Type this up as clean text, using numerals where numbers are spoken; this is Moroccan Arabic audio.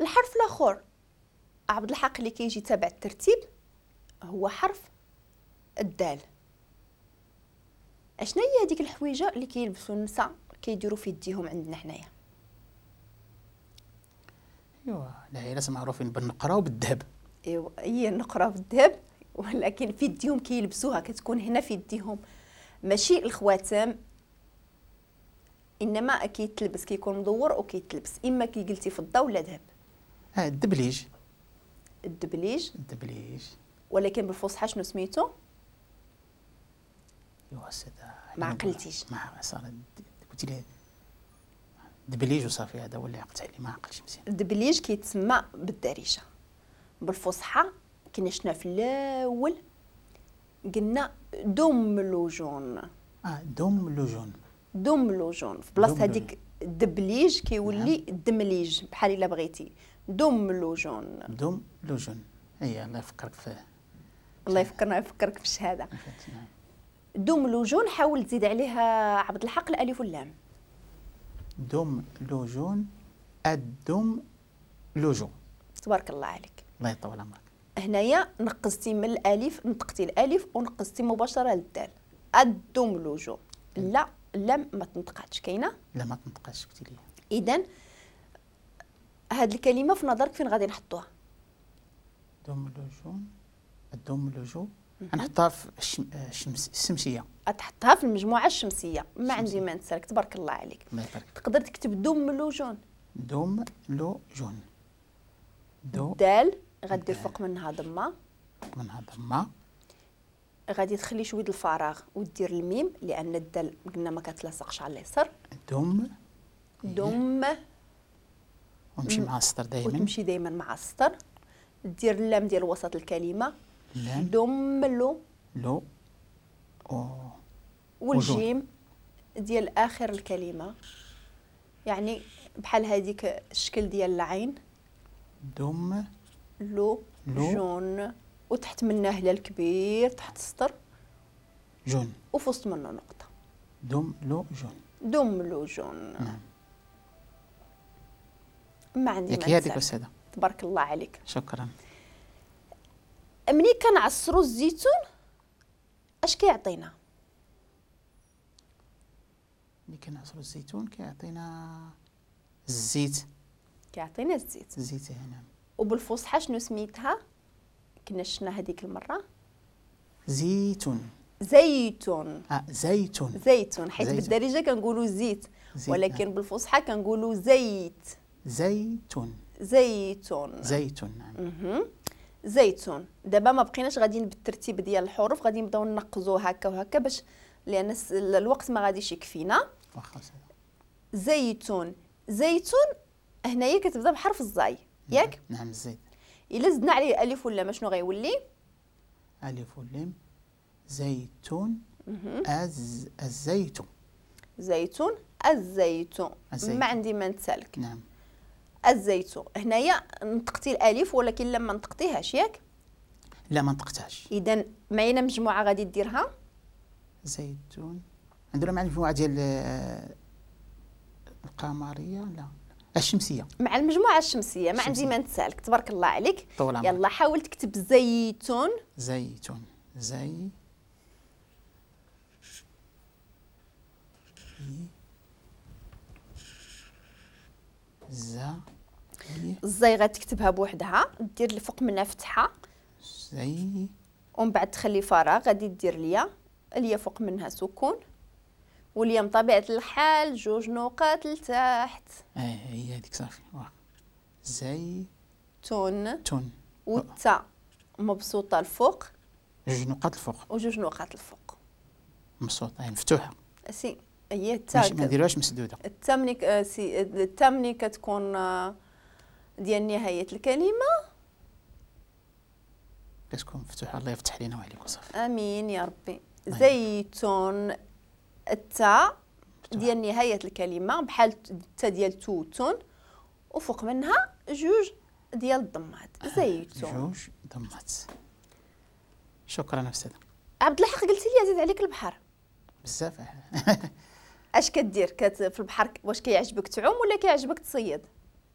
الحرف الاخر عبد الحق اللي كيجي تابع الترتيب هو حرف الدال. اشنا هي هذيك الحويجه اللي كيلبسوا النساء كيديروا في يديهم عندنا حنايا؟ ايوا العائلات معروفين بالنقره وبالذهب. ايوا هي النقره بالذهب، ولكن في يديهم كيلبسوها، كتكون هنا في يديهم، ماشي الخواتم، انما كيتلبس، كيكون مدور وكيتلبس، اما كي قلتي فضة ولا ذهب. الدبليج. الدبليج. الدبليج، ولكن بالفصحى شنو سميتو؟ ايوا سيدي ما عقلتيش. ما صار قلتي لي دبليج وصافي، هذا هو اللي عقلت عليه، ما عقلتش مزيان. الدبليج كيتسمى بالدارجة، بالفصحى كنا شفنا في الاول قلنا دملوجون. دملوجون. دملوجون في بلاصة هذيك الدبليج كيولي الدمليج، بحال الا بغيتي دملوجون. دملوجون، اي الله يفكرك في، الله يفكرنا يفكرك في الشهادة. دملوجون حاول تزيد عليها عبد الحق الالف واللام. دملوجون، الدملوجو. تبارك الله عليك. الله يطول عمرك. هنايا نقصتي من الالف، نطقتي الالف ونقصتي مباشرة للدال. الدملوجو، لا اللام ما تنطقاتش، كاينه؟ لا ما تنطقاتش قلتي لي. اذا هاد الكلمة في نظرك فين غادي نحطوها؟ دملوجون، الدملوجو نحطها في الشمسية. تحطها في المجموعة الشمسية، ما عندي ما نسالك، تبارك الله عليك. الله يبارك. تقدر تكتب دملوجون. دملوجون، دو دال غدير فوق منها ضمه، فوق منها ضمه، غادي تخلي شوية الفراغ ودير الميم لان الدال قلنا ما كتلاصقش على اليسار. دم دم، ونمشي مع السطر دائما، وتمشي دائما مع السطر. دير اللام ديال وسط الكلمة، لام دم لو لو أو والجيم ديال اخر الكلمة، يعني بحال هذيك الشكل ديال العين. دم لو جون، وتحت منه هلال كبير تحت السطر جون، وفي وسط منه نقطة. دم لو جون. دم لو جون. نعم. ما عندي ما هذيك أستاذة. تبارك الله عليك. شكرا. ملي كنعصروا الزيتون اش كيعطينا؟ ملي كنعصروا الزيتون كيعطينا الزيت. كيعطينا الزيت. الزيت، نعم. وبالفصحى شنو سميتها؟ كنا شفنا هذيك المرة. زيتون. زيتون. زيتون. زيتون، حيت بالدارجة كنقولوا زيت، ولكن بالفصحى كنقولوا زيت. زيتون. زيتون. زيتون، نعم. زيتون. دابا ما بقيناش غاديين بالترتيب ديال الحروف، غادي نبداو ننقزو هكا وهكا باش، لان الوقت ما غاديش يكفينا. واخا. زيتون. زيتون هنايا كتبدا بحرف الزاي، ياك؟ نعم الزيت. الا زدنا عليه الف ولا شنو غيولي؟ الف ولام زيتون. الزيتون. زيتون، الزيتون. ما عندي ما نتسالك. نعم. الزيتون هنايا نطقتي الالف ولكن لما نطقتيهاش، ياك؟ لا ما نطقتهاش. اذا معنا مجموعة غادي ديرها زيتون، عندنا مع المجموعة ديال القمريه، لا الشمسية، مع المجموعة الشمسية. ما عندي ما نتسالك، تبارك الله عليك. يلا حاول تكتب زيتون. زيتون، زي زا الزي غتكتبها بوحدها، دير الفوق منها فتحه زي، ومن بعد تخلي فراغ، غادي دير ليا اليا فوق منها سكون، واليا بطبيعة الحال جوج نقاط لتحت. هي هذيك صافي. زي تون تون، والتا مبسوطة الفوق، جوج نقاط الفوق، وجوج نقاط الفوق مبسوطة يعني مفتوحة. سي هي التا ما نديروهاش مسدودة. التا ملي سي التا ملي كتكون ديال نهاية الكلمة كتكون مفتوحة. الله يفتح لينا وعليك وصافي. امين يا ربي. زيتون، التا ديال نهاية الكلمة بحال التا ديال توتون، وفوق منها جوج ديال الضمات. زيتون، جوج ضمات. شكرا استاذه. عبد الحق قلتي لي زيد عليك البحر بزاف. اش كدير في البحر؟ واش كيعجبك تعوم ولا كيعجبك تصيد؟